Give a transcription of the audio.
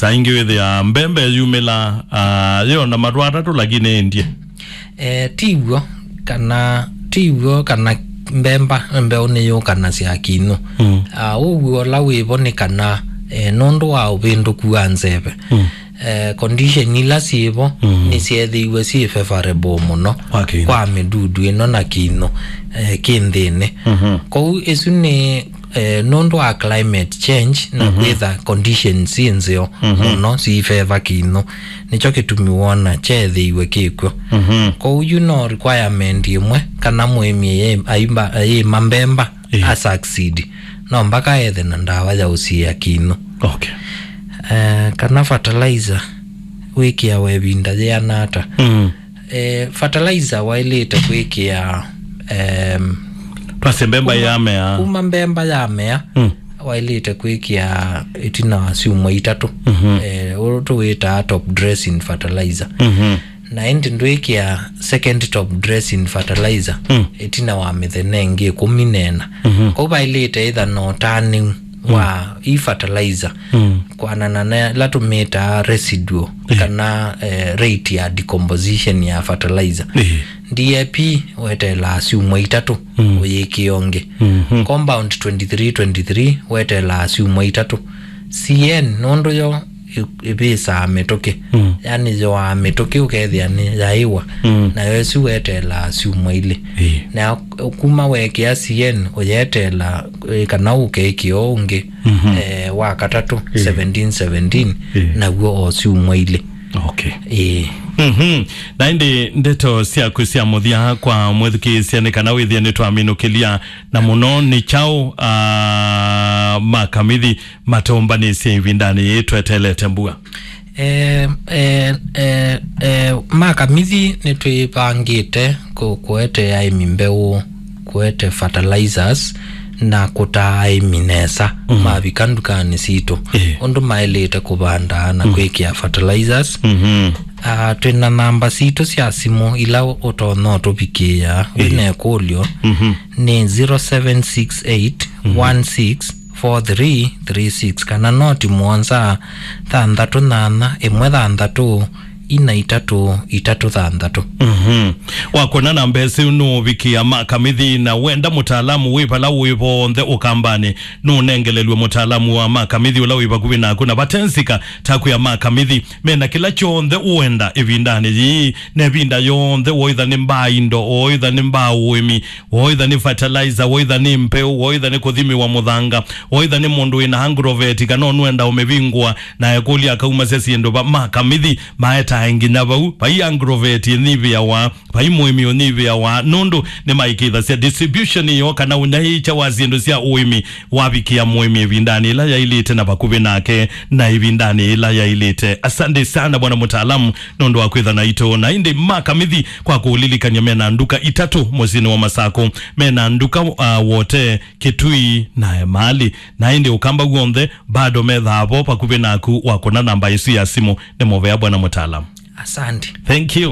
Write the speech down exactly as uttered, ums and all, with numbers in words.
Na ingĩ wĩthĩa mbemba yumĩla, ah, yĩona matũ atatũ lakini ĩndie. Eh, ti w'o kana, ti w'o kana mbemba, mbeũ nĩyũkanasya kĩnũ. Mm. Ah, ũw'o ũla wĩvo nĩ kana, eh, nũndũ wa ũvĩndũku wa nzeve. Mm. Eh, condition ila syĩvo Mm. nĩsyethĩiwe syĩ favorable mũno Kwa kĩnũ. kwa mĩdudu ĩno na kĩnũ, eh, kĩ nthĩnĩ. Mhm. Kwoou ĩsu nĩ, eh, nũndũ wa climate change na Mhm. kwĩtha conditions syĩ nzeo Mhm. mũno syĩ favor kĩnũ. Nĩkyo kĩtumi wona kyeethĩiwe kĩkw'o. Mhm. Kwoou yu no requirement ĩmwe kana mũĩmi ayĩ-, ayĩmba-, ayĩma mbemba Ĩĩ. a succeed. No mpaka ethe na ndawa ya ũsiĩa kĩnũ. Okay. Eh, kana fertilizer wĩkĩawa ĩvinda yĩana ata? Mm. Eh, fertilizer waĩlĩte kwĩkĩa, em, Twasye mbemba kuma, yamea. kuma mbemba yamea, Mm. waĩlĩte kwĩkĩa ĩtina wa syumwa itatũ. Mhm. Eh, ũũ tũwĩtaa top dressing fertilizer. Mhm. Na ĩndĩ ndwĩkĩa second top dressing fertilizer Mm. ĩtina wa mĩthenya ĩngĩ ĩkũmi na ĩna. Mhm. Kwoou vaĩlĩte ĩtha na ũtanĩu wa ii fertilizer Mm. kwanana na ĩla tũmĩtaa residual Ĩĩ. kana, eh, rate ya decomposition ya fertilizer. Ĩĩ. D A P weteelaa syumwa itatũ Mm. ũyĩkĩe ũngĩ. Mhm. Compound twenty-three twenty-three weteelaa syumwa itatũ. C N nũndũ yo ĩ-, ĩvĩsaa mĩtũkĩ. Mm. Yani yoaa mĩtũkĩ ũkethĩa nĩ yaĩwa. Mm. Nayo ĩsu weteelaa syumwa ilĩ. Ĩĩ. Na kuma wekĩa C N ũyeteela, eh, kana ũkekĩa ũngĩ, Mhm. eh, wa katatũ, Ĩĩ. seventeen seventeen, Ĩĩ. naw'o o syumwa ilĩ. Okay. Ĩĩ. Mhm. Na ĩndĩ ndeto syaku sya mũthya kwa mwĩthukĩĩsya nĩ kana wĩthĩe nĩtwaminũkĩlya na mũno nĩ kyaũ, ah, makamithi matũmbanĩsye ĩvindanĩ yĩĩ twetelete mbua? Eh, eh, eh, eh, makamithi nĩtwĩvangĩte kũ-, kũete aĩmi mbeũ, kũete fertilizers, na kũtaa aĩmi nesa Mhm. mavika ndukanĩ sitũ Ĩĩ. ũndũ maĩlĩte kũvanda na Mhm. kwĩkĩa fertilizers. Mhm. Ah, twĩ na namba sitũ sya simũ ila ũtonya ũtũvikĩĩa wĩ Ĩĩ. na ĩkũlyo Mhm. nĩ zero seven six eight one six four three three six kana noti mũonza thanthatũ nyanya ĩmwe thanthatũ ina itatũ itatũ thanthatũ. Mhm. Wakwona namba ĩsu nũũvikĩa makamithi na wenda mũtaalamu wĩ vala wĩ vonthe ũkambanĩ, nũũnengelelw'e mũtaalamu wa makamithi ũla wĩ vakuvĩ naku na vate nzika taku ya makamithi mena kĩla kyonthe ũenda ĩvindanĩ yĩĩ na ĩvinda yonthe, woitha nĩ mbaa indo, woitha nĩ mbaa ũĩmi, woitha nĩ fertilizer, woitha nĩ mbeũ, woitha nĩ kũthimĩwa mũthanga, woitha nĩ mũndũ wĩna agrovet kana ũnũenda ũmĩvingũa, na ekũlya akaumasya syĩndũ va makamithi, maetae nginya vau, vai agrovet ĩnyivĩawa, vai mũĩmi ũnyivĩawa, nũndũ nĩmaĩkĩĩthasya distribution ĩyo kana ũnyaĩĩkya wa syĩndũ sya ũĩmi wavikĩa mũĩmi ĩvindanĩ ĩla yaĩlĩte na vakuvĩ nake na ĩvindanĩ ĩla yaĩlĩte. Asante sana bwana mũtaalamu nũndũ wa kwĩtha naitũ. Na ĩndĩ makamithi kwa kũũlilikany'a mena nduka itatũ mũsyĩnĩ wa Masakũ. Mena nduka, uh, Wote, Kitui na Emali. Na ĩndĩ Ũkamba w'onthe bado methaa vo vakuvĩ naku wakũna namba ĩsu ya simũ. Nĩ mũvea bwana mũtaalamu. Asante. Thank you.